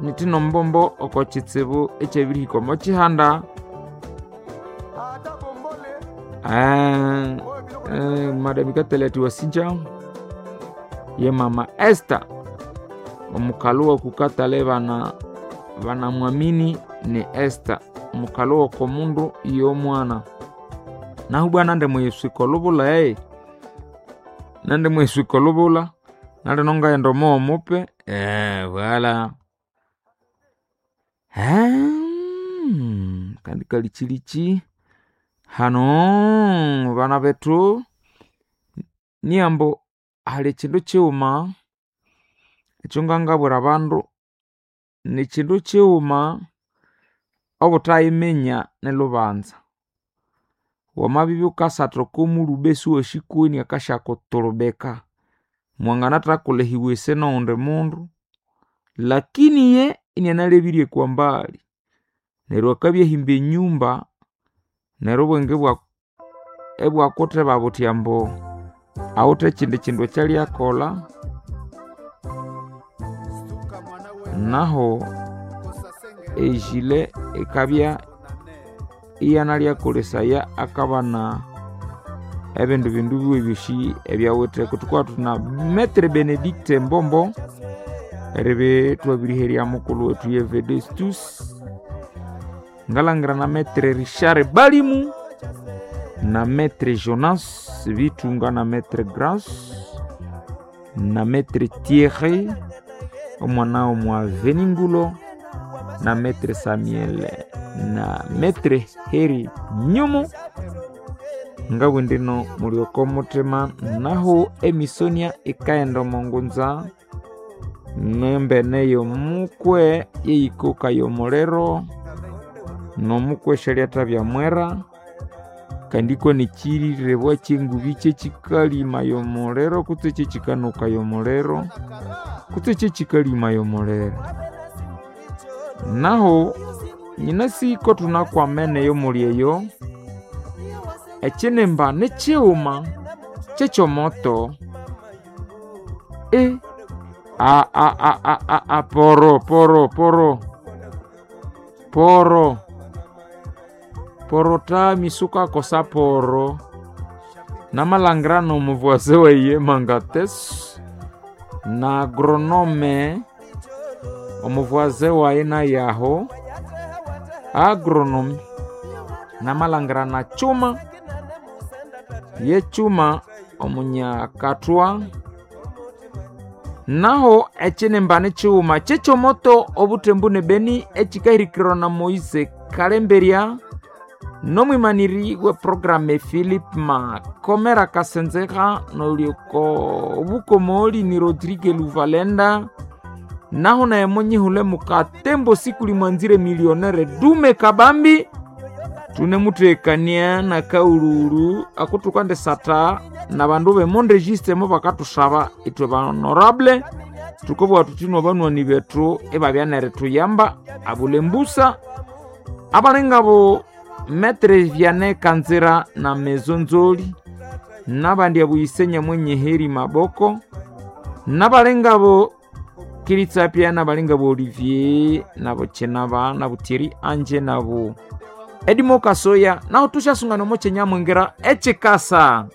Nitino Mbombo oko kitsibu ekyabirihika omo kihanda. Madam Katale Wasinja ye mama Esther omukalu wokukatale bana banamwamini ni Esther omukalu wokomundu y'omwana. Nahu bwana nde muyiswika olubula nande muyiswika olubula nalino ngaghenda omo mupe wala kandi kalikyiliki hano bana bethu niyambo hali ekindu kighuma ekyongangabwira abandu, nikindu kighuma obutayiminya nilhubanza. Wamabibya wukasatha oko mulhuba isiwasi kweni akasyakuturubika, mwanganathakulha ewc noghundi mundu lakini iye inianalebirye kwa mbali. Neryo akabya ahimba enyumba neryo obwenge ibwakutheba buthi ambu awithe ekyindi kindu ekyalyakolha nahu ejile ikabya iyanalyakolesaya akabana ebindi bindu biwe ebyosi ebyawithe. Thukowa thuthi na Metre Benedicte Mbombo eribya ithwabiriherya mukulhu wethu ye Vedestus, ngalangira na Metre Richard Balimu na Metre Jonas Bitunga na Metre Grace na Metre Thierry omwana w'omwaveningulo na Metre Samuel na Metre Heri Nyumu. Ngabwe ndino muli oko muthima nahu emisonia ikaghenda omo ngunza nembene y'omukwe yeyikoka y'omuliro n'omukwe syalyathabya mwera kandi iko nikyiriribwa ky'engubi kyekikalima y'omuliro kutse kyekikanuka y'omuliro kutse kyekikalima y'omuliro. Nahu nyinasi ko thunakwamene eyomuli eyo, ekyinimba nikighuma kyekyomoto poro poro poro poro poro tami sukakosa poro namalhangira n'omuvuase waye Mangateso na agronome omuvuase wayi naye aho agronome namalhangira na Kyuma ye Kyuma omunyakathwa. Nahu ekyinimba nikighuma kyekyomoto obuthembu ne Beni ekikahirikirwa na Moise Kalemberya n'omwimaniri we program Philip Makomera Kasenzeha n'olyoko obukomoli ni Rodrigue Luvalenda. Nahu naye munyihule mukatembo sikuli mwanzire millionaire Dume Kabambi tunemuthekania na kaululu akuthukandisatha nabandu b'emondregistre mubakathusaba ithwe ba honorable thukabugha thuthi nobanywani bethu ibabya nerithuyamba abulhe mbusa abalingabo Metre Vianney Kanzira na Mezo Nzoli nabandi abuyise Nyamwenye Heri Maboko nabalingabo Kiritsapia nabalingabo Olivier nabo Chenaba nabo Thierry Anje nabo Edimo Kasoya naho tushasunga nomo kyenyamwingira ekikasa.